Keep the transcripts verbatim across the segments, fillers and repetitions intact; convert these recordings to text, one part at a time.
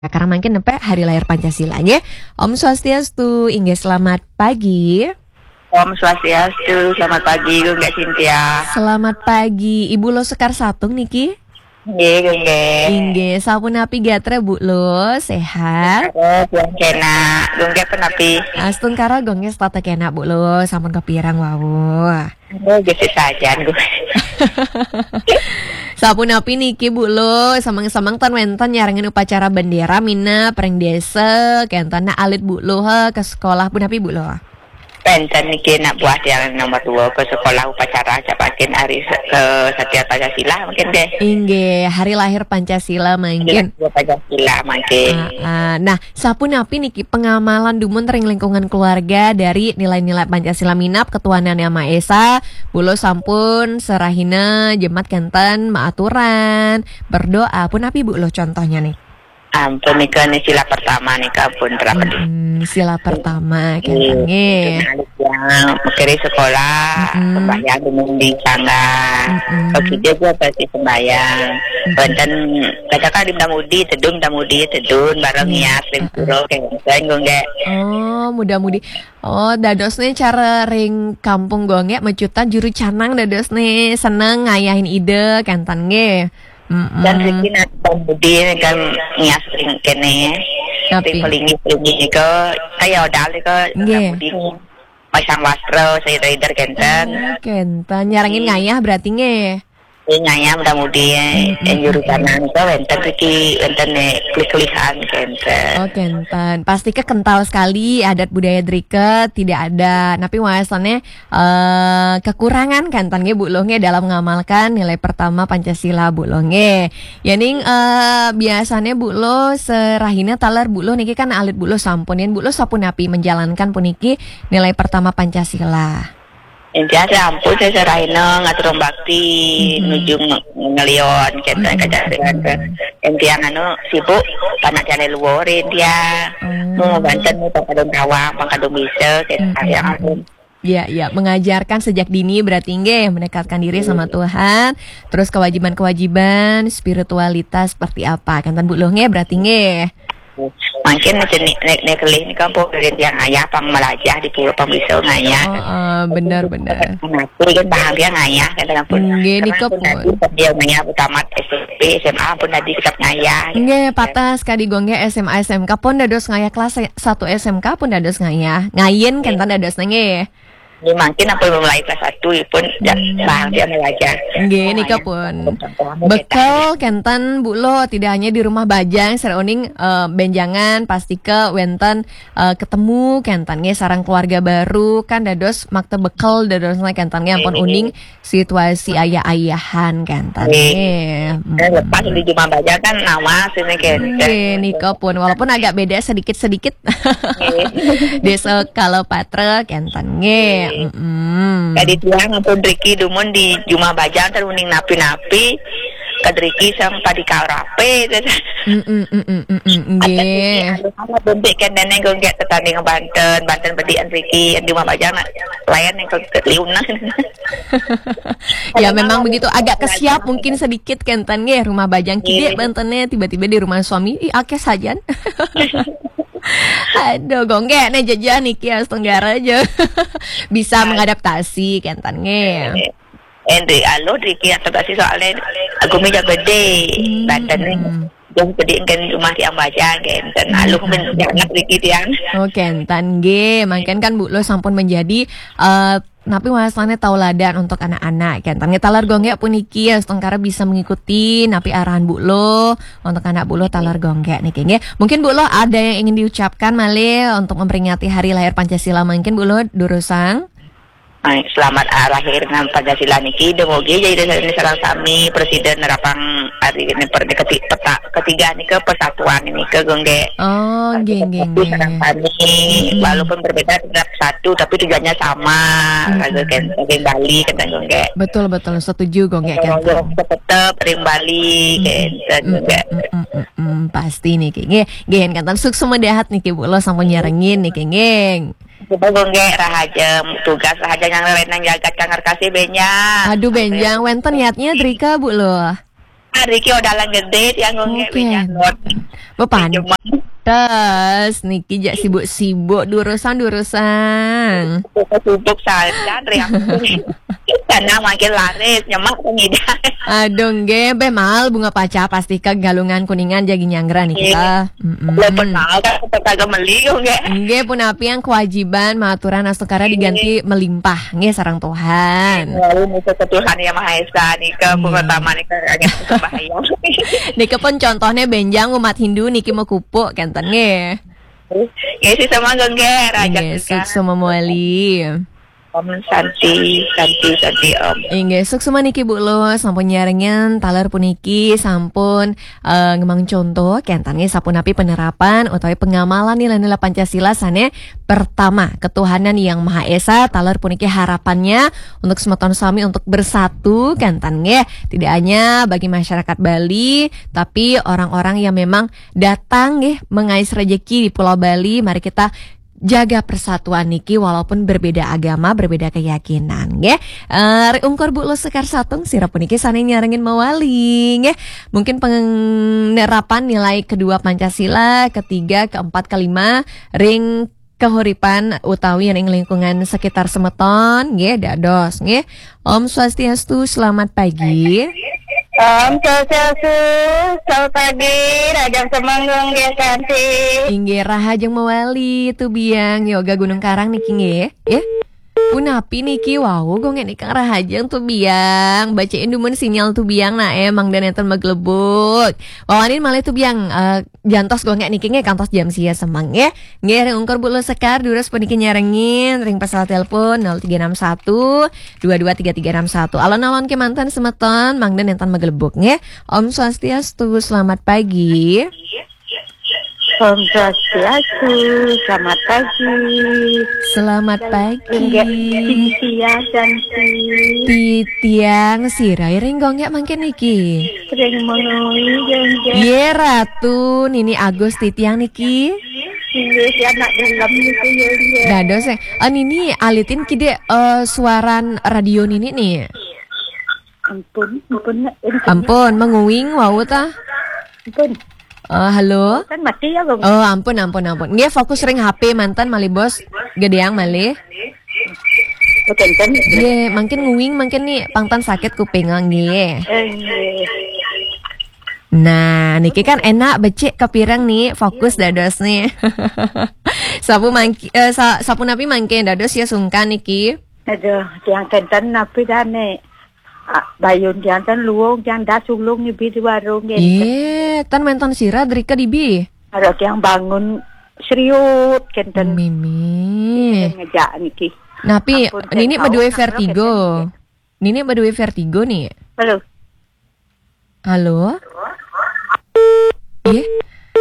Karena mangkin nepek hari lahir Pancasila, nggih. Om Swastiastu, inggih selamat pagi. Om Swastiastu, selamat pagi, Gung Cynthia. Selamat pagi, Ibu Lo Sekar Satung niki. Nggih, Gung. Inggih, sapunapi gatra, Bu Lo? Sehat? Terus, Gung, kena. Gung, penapi? Astungkara, Gung, setata kena, Bu Lo. Sampun kepirang wau? Oh, gesik sajan, Gung. Sapunapi niki, Bu Lo? Semeng-semeng ten wenten nyarengin upacara bendera minab ring desa, kenten alit Bu Lo, he, ke sekolah punapi, Bu Lo? Wenten niki nak buah tiang nomor dua ke sekolah upacara, capakin hari se-, ke Satya Pancasila mungkin deh. Inggih, hari lahir Pancasila mangkin. Hari lahir Pancasila mangkin. Ah, ah. Nah, sapunapi niki pengamalan dumun ring lingkungan keluarga dari nilai-nilai Pancasila minab ketuhanan Yang Maha Esa, Bu Lo sampun serahina jemat kenten maaturan, berdoa, punapi Bu Lo contohnya nih? Ampun, nika nih sila pertama nih, ampun, terapin. Mm-mm, sila pertama, kenten, nggih. Nggih. Yang mekeri sekolah, mm-mm, sembahyang dumun di sangga. Mm-mm. Oke, dia juga pasti sembahyang. Mm-mm. Wenten, katakan di muda-mudi, tedun, muda-mudi, tedun, bareng, mm-mm, ngias, ring, mm-mm, pura, kenten, Gung, nggih. Oh, muda-mudi. Oh, dadosne cara ring kampung Gung, nggih, mecutan juru canang dadosne seneng ngayahin ide, kenten, nggih. Mm-mm. Dan riki nak muda-mudi kan ngias ring kene. Napi? Ring pelinggih-pelinggih nika, kaya odal nika, nggih, muda-mudi pasang wastra, seder-seder kenten. Oh, kenten. Nyarengin, hmm, ngayah berarti nggih? Nggih, ngayah muda-mudi, mm-mm, yang juru canang nika wenten riki, wenten nih, kelih-kelihan kenten. Oh, kenten. Pasti ke kental sekali adat budaya drika, tidak ada. Napi wastannya eh, kekurangan kenten nggih, Bu Lo, nggih, dalam ngamalkan nilai pertama Pancasila, Bu Lo, nggih. Yening, eh, biasane Bu Lo serahina taler Bu Lo niki kan alit Bu Lo sampun, yen Bu Lo sapunapi menjalankan puniki nilai pertama Pancasila? Intinya saya ampun, saya serahina ngatur bakti, mm-mm, nuju nge-, ngelion, kenten, mm-mm, kajaringan ke. Mm-mm. Intinya anu sibuk, panak jale luar, intinya. Oh. Mau banten, mau pangkadung tawang, pangkadung bisa, kenten, mm-mm, yang ampun. Ya, ya, mengajarkan sejak dini berarti nggih, mendekatkan diri sama, iya, Tuhan. Terus kewajiban-kewajiban spiritualitas seperti apa? Kenten Bu Lo nggih berarti nggih. Mungkin jenik nek, nek kelih nika pun dari tiang ayah pang melajah di pulau pang bisa ngayah. Oh, eh, benar, benar. Mati kan bahagia ngayah, kenten pun. Nggih, nika pun. Dia ngayah tamat S M P, S M A pun tadi tetap ngayah. Nggih, patah sekali Gung nggih, S M A, S M K pun dados ngayah, kelas satu S M K pun dados ngayah. Ngayin, nggih, kenten dados nggih. Ini mungkin apa belum lahir kelas satu pun, ya, hmm, bahagia melajah. Nggih, nika pun. Betul, kenten Bu Lo, tidak hanya di rumah bajang, sira uning, eh, benjangan, pasti ke wenten, eh, ketemu, kenten nggih, sareng keluarga baru, kan dados makta bekel, dados kenten nggih, ampun, nggih, uning situasi ayah-ayahan, kenten nggih. Nggih. Eh, lepas di rumah bajang kan nama sini, kenten. Nggih, nika pun, walaupun agak beda sedikit-sedikit. Nggih. Desa Kalopatra kenten nggih. Nggih. Mm-mm. Tadi tiang ampun riki dumun di jumah bajang, ter uning napi-napi, kadriki sang padi karape, ter. Mm-mm, mm-mm, mm-mm, nggih. Anu, sama bentuk kan neneng gung nggih, tetanding banten, banten bedian riki, yang di jumah bajang nak layan yang ke, ke liunan. Ya, memang begitu, agak kesiap mungkin sedikit kenten nggih, rumah bajang kidik, nggih, bantene, tiba-tiba di rumah suami, ih, akeh sajan. Aduh, gung nggih, ne jejeh niki Astenggara aja. Bisa mengadaptasi, kenten nggih. Endi, alo, driki adaptasi soalnya gumi jago gede, hmm, Banten nih. Hmm. Jadi, gede kan rumah tiang bajang, kenten. Hmm. Alo, men-, anak driki tiang. Oh, kenten nggih. Mangkin kan Bu Lo sampun menjadi, eh, napi wasane tauladan untuk anak-anak, kenten. Nggih, taler gung nggih puniki, Astenggara bisa mengikuti napi arahan Bu Lo untuk anak Bu Lo taler gung nggih niki, nggih. Mungkin Bu Lo ada yang ingin diucapkan malih untuk memperingati hari lahir Pancasila mungkin, Bu Lo, durusang? Baik, selamat hari lahir nang Pancasila niki, dumugi jadi sareng sami presiden nerapang hari ini per-, keti-, peta-, ketiga nika persatuan ini ke gung nggih. Oh, nggih, nggih, nggih. Sareng sami, mm-mm, walaupun berbeda tetap satu, tapi tujuannya sama. Mm-mm. Raga ken-, ken Bali, kenten gung nggih. Betul, betul. Setuju, gung nggih, kenten. Tetep ring Bali, mm-mm, kenten gung nggih. Mm-mm, mm-mm, mm-mm. Pasti niki, nggih. Nggih, kenten suksma dahat niki, Bu Lo sampun nyarengin niki, nggih. Coba gung nggih, rahaja, tugas rahaja yang lain yang jagat kang kasih benjang. Aduh, benjang. Wenten niatnya drika, Bu Lo? Hari ki udah lanjut date yang gue nggak Oke. Not. Bepantes niki jak sibuk-sibuk durusang-durusang. Sibuk saja dari aku. Karena makin laris nyemak pengidai. Aduh nggih, beh mal bunga paca pasti ke Galungan Kuningan jagi nyanggra niki ta. Mm-mm. Walaupun mau kan tetap kagak meli gue nggak. Nggih, punapi yang kewajiban maturan astungkara diganti melimpah nggih sareng Tuhan. Lalu musuh ke Tuhan yang Maha Esa nih ke Iya. Pertama nih ke agak bahaya. Niki pun contohnya benjang umat Hindu niki mau kupuk kenten nggih. Ya sih sama gue nggak raja Nggih, suksma mawali. Om Santi, Santi, Santi Om. Inggih, suksma niki Bu Lo, sampun nyarengin taler puniki sampun eh, ngemang contoh kenten nggih sapunapi penerapan utawi pengamalan nilai-nilai Pancasila sane pertama, ketuhanan yang Maha Esa, taler puniki harapannya untuk semeton sami untuk bersatu kenten nggih. Tidak hanya bagi masyarakat Bali, tapi orang-orang yang memang datang nggih mengais rejeki di Pulau Bali, mari kita jaga persatuan niki walaupun berbeda agama, berbeda keyakinan nggih. Eh, ri ungkur Bu Lo Sekar Satung sira puniki sane nyarengin mawali nggih. Mungkin penerapan nilai kedua Pancasila, ketiga, keempat, kelima ring kahuripan utawi ring lingkungan sekitar semeton nggih dados nggih. Om Swastiastu, selamat pagi. Om Swastiastu, selamat pagi, Rajang Semenggung, Dia Santi. Inggih, rahajeng mawali tu biang yoga Gunung Karang niki nggih. Ya. Punapi niki wau gongek niki rahajeng tu biang. Bacain dumun sinyal tu biang nah emang dan enten maglebuk. Wawanin malih tu biang eh, jantos gongek niki nggih kantos jam sia semeng nggih. Nggih ring ungkur Bu Lo Sekar durus puniki nyarengin ring pesawat telepon nol tiga enam satu dua dua tiga tiga enam satu. Alon-alon kemanten semeton mangda enten maglebuk nggih. Om Swastiastu, selamat pagi. Om Swastiastu, selamat pagi. Selamat pagi. Enggak, Cynthia Santi. Titiang sira ring gongek mangkin niki. Sering menui gongek. Ye Ratu, Nini Agus titiang niki. Inggih, si anak dalam itu ya dia. Dados eh, eh, Nini alitin kide eh, suaran radio Nini nih. Ampun, ampun, nak. Ampun, menguing wau ta. Ampun. Eh, halo. Kan mati ya, Bang. Oh, ampun, ampun, ampun. Nggih, fokus ring H P manten malih bos. Gedeang malih. Bukan kan? Nggih, mangkin nguing mangkin nih pangtan sakit kuping nggih. Eh, nggih. Nah, niki kan enak becik kepireng nih, fokus dados nih. Sapu mangki, eh, sa, sapunapi mangkin dados ya sungkan niki. Aduh, tiang kenten napi dane. Ah, bayun tiang ten luung, tiang das ulung nibi di warung nggih. Ye, tan menton sira drika dibi. Ada tiang bangun seriut kenten. Mimi. Ngejak niki. Napi Ampun, Nini Ken, badue tahu, tahu, vertigo. Ken. Nini badue vertigo nih. Halo. Halo? Ih,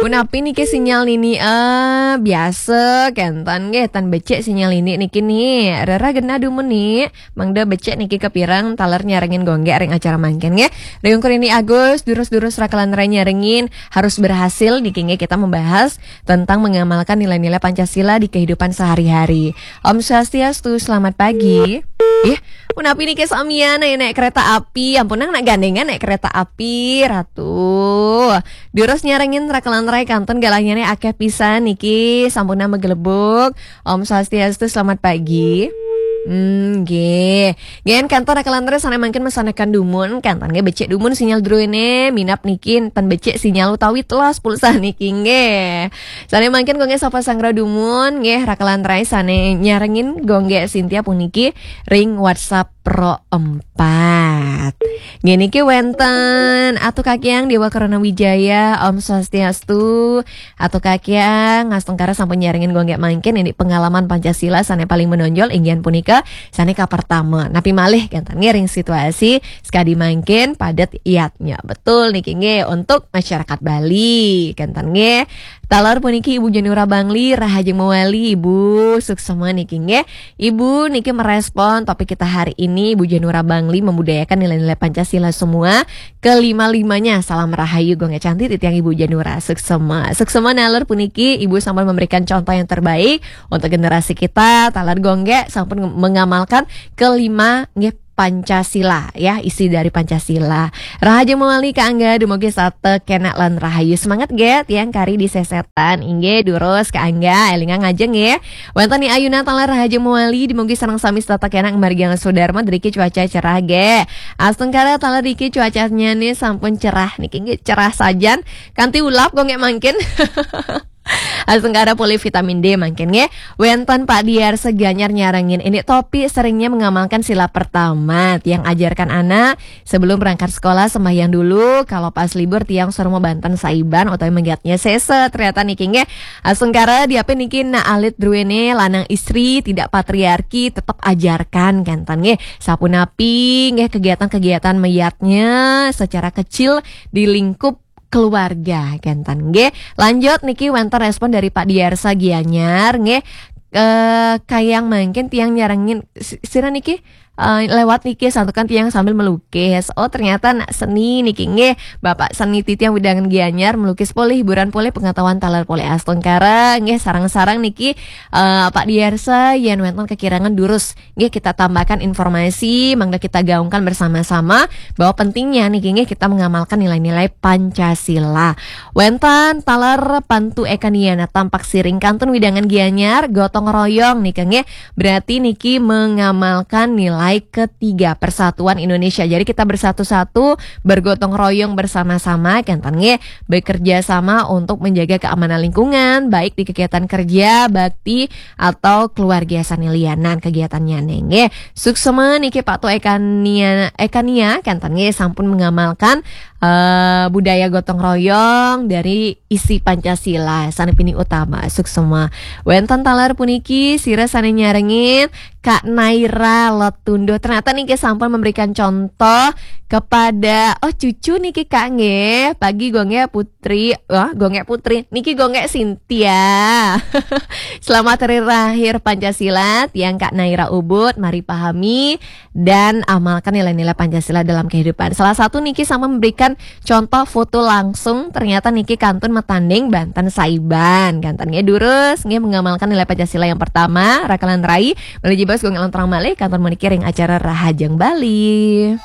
punapi niki sinyal Nini? Eh, biasa kenten nggih, tan becik sinyal Nini niki nih. Rera genah dumun nih. Mangda becik niki kepireng taler nyarengin gongek ring acara mangkin nggih. Ring ungkur Nini Agus, durus-durus rakelan rai nyarengin harus berhasil niki nggih kita membahas tentang mengamalkan nilai-nilai Pancasila di kehidupan sehari-hari. Om Swastiastu, selamat pagi. Ih, punapi niki samian naik, naik kereta api, ampun nang nak gandengan naik kereta api, Ratu. Durus nyarengin rakelan rai kenten galahnya nih akeh pisan niki, sampun nama gelebuk. Om Swastiastu, selamat pagi. Hmm, nggih. Nggih, kenten rakelan rai sane mangkin mesanekan dumun, kenten nggih becik dumun sinyal druene, minap niki enten becik sinyal utawi telas pulsa niki nggih. Sane mangkin gongek sapa sangra dumun nggih rakelan rai sane nyarengin gongek Sintia puniki ring WhatsApp Pro empat. Nggih niki wenten Atu Kakiang Dewa Karana Wijaya, Om Swastiastu. Atu Kakiang ngastungkara sampun nyarengin gongek mangkin ini pengalaman Pancasila sane paling menonjol inggih punika sane kapertama. Napi malih kenten ngiring situasi sekadi mangkin padet iyatnya. Betul niki nggih untuk masyarakat Bali kenten nggih. Taler puniki Ibu Janura Bangli, rahajeng mawali Ibu, suksma niki nggih. Ibu niki merespon topik kita hari ini, Ibu Janura Bangli membudayakan nilai-nilai Pancasila semua. Kelima-limanya, salam rahayu gongek cantik titiang Ibu Janura, suksma. Suksma naler puniki Ibu sampun memberikan contoh yang terbaik untuk generasi kita, taler gongek sampun mengamalkan kelima nggih Pancasila, ya, isi dari Pancasila. Rahajeng mawali Kak Angga, dumugi saté kénak lan rahayu. Semangat nggih tiang kari di sesetan. Inggih, durus Kak Angga, élingang ajeng nggih. Wénten Ni Ayuna taler rahajeng mawali, dumugi sareng sami setata kénak margiang Sudarma driki cuaca cerah nggih. Astungkara taler driki cuacanya nih sampun cerah niki nggih, cerah sajan. Kanti ulap kok nggih mangkin. Astungkara polih vitamin D mangkin nggih. Wénten Pak Diarsa Gianyar nyarengin, ini Topi seringnya mengamalkan sila pertama. Tiang ajarkan anak sebelum berangkat sekolah sembahyang dulu. Kalau pas libur tiang suruh mau banten saiban atau menggiatnya sese. Ternyata niki nggih. Astungkara diapin niki nak alit druene lanang istri tidak patriarki tetap ajarkan kénten nggih. Sapunapi nggih kegiatan-kegiatan meyatnya secara kecil di lingkup keluarga kénten nggih. Lanjut niki wénten respon dari Pak Diarsa Gianyar nggih. Eh, kayang mangkin tiang nyarengin si- sira niki eh, lewat niki santukan tiang sambil melukis. Oh, ternyata nak seni niki nggih. Bapak seni titiang widangan Gianyar melukis polih hiburan polih pengetahuan taler polih astungkara nggih sarang-sarang niki eh, Pak Diarsa yén wénten kekirangan durus nggih kita tambahkan informasi mangga kita gaungkan bersama-sama bahwa pentingnya niki nggih kita mengamalkan nilai-nilai Pancasila. Wénten taler Pantu Ekaniana Tampak Siring kantun widangan Gianyar gotong royong niki nggih. Berarti niki mengamalkan nilai ketiga persatuan Indonesia. Jadi kita bersatu-satu, bergotong royong bersama-sama, kénten nggih, bekerja sama untuk menjaga keamanan lingkungan, baik di kegiatan kerja, bakti atau keluarga sanelianan kegiatannya nggih. Suksma niki Pak Tu Ekania, Ekania, kénten nggih sampun mengamalkan eh, budaya gotong royong dari isi Pancasila sané pinih utama. Suksma. Wénten taler puniki sira sané nyarengin Kak Naira Letundo. Ternyata niki sampun memberikan contoh kepada oh cucu niki Kak nggih. Pagi Gonggé Putri, wah Gonggé Putri. Niki Gonggé Sintia. Selamat hari lahir Pancasila, tiang Kak Naira Ubud, mari pahami dan amalkan nilai-nilai Pancasila dalam kehidupan. Salah satu niki sama memberikan contoh foto langsung, ternyata niki kantun matanding banten saiban. Kanten nggih durus nggih mengamalkan nilai Pancasila yang pertama, rakalan rai, menuju bos gong terang malih kantun menikir yang acara Rahajeng Bali.